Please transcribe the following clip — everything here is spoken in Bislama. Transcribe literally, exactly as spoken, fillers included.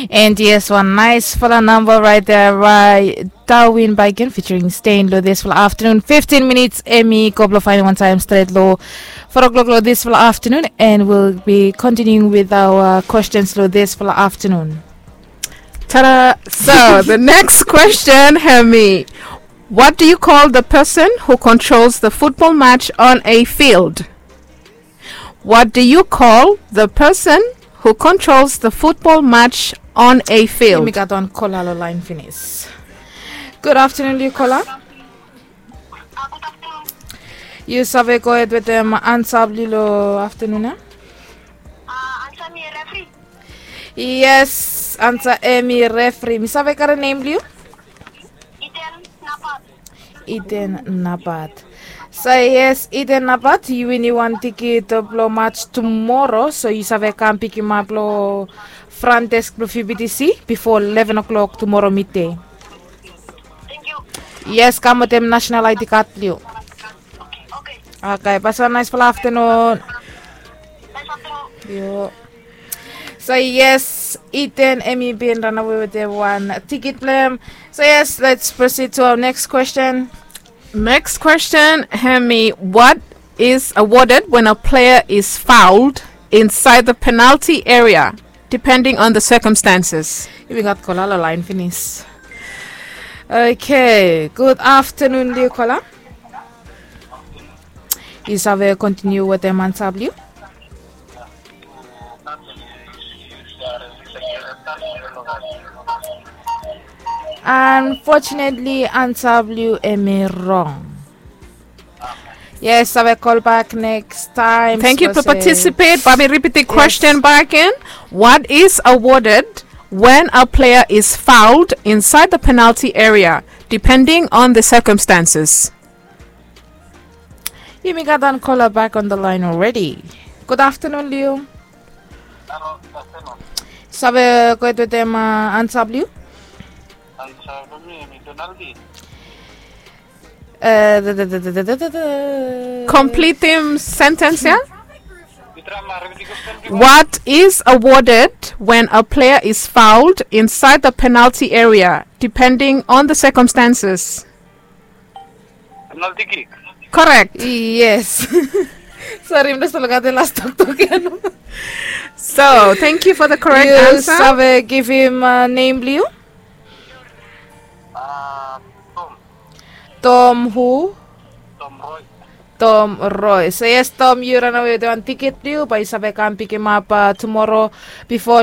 And yes, wan naesfala namba raet ya by Darwin Baiken featuring Stain lo disfala aftanun. Fiftin minits hemi go blo faenem wan taem stret lo four o'clock lo disfala aftanun, and we'll be continuing with our questions lo disfala aftanun. Tada! So the next question hemi, what do you call the person who controls the football match on a field? What do you call the person who controls the football match on a field? Yumi gat wan kola lo laen finis. Gud aftanun lo yu, kola. Yu save gohed wetem ansa blo yu lo aftanun ya? Yes, ansa hemi refri. Mi save karem nem blo yu? Eden Nabat. So yes, Eden Nabat, yu winim wan tikit blo mats tumoro, so yu save kam pikimap lo fran desk blo V B T C bifo leven o'clock tumoro midei. Yes, kam wetem national I D card blo yu. Oke, basa naesfala aftanun. Yu. So yes, Eden hemi bin ranawe wetem wan tikit blo hem. So yes, let's proceed to our next question. Next question hemi, what is awarded when a player is fouled inside the penalty area, depending on the circumstances? Yumi gat kola lo laen finis. Oke, gud aftanun lo yu, kola. Yu save kontiniu wetem ansa blo yu? Unfortunately, ansa blo yu hemi rong. Yes, save kolbak nekis taem. Thank you for participate. Bae mi ripit the question back in. What is awarded when a player is fouled inside the penalty area, depending on the circumstances? Yumi gat wan kola back on the line already. Gud aftanun lo yu. Save gohed wetem ansa blo yu? Kompletem sentens ya. What is awarded when a player is fouled inside the penalty area, depending on the circumstances? Penalti kik. Korek. Yes. Sori, mi no save olgeta las toktok ya. So thank you for the correct answer. Yu save givim nem blo yu? Tom hu? Tom Roy. So yes, Tom, yu ranawe wetem wan tikit blo yu, bae yu save kam pikimap tumoro bifo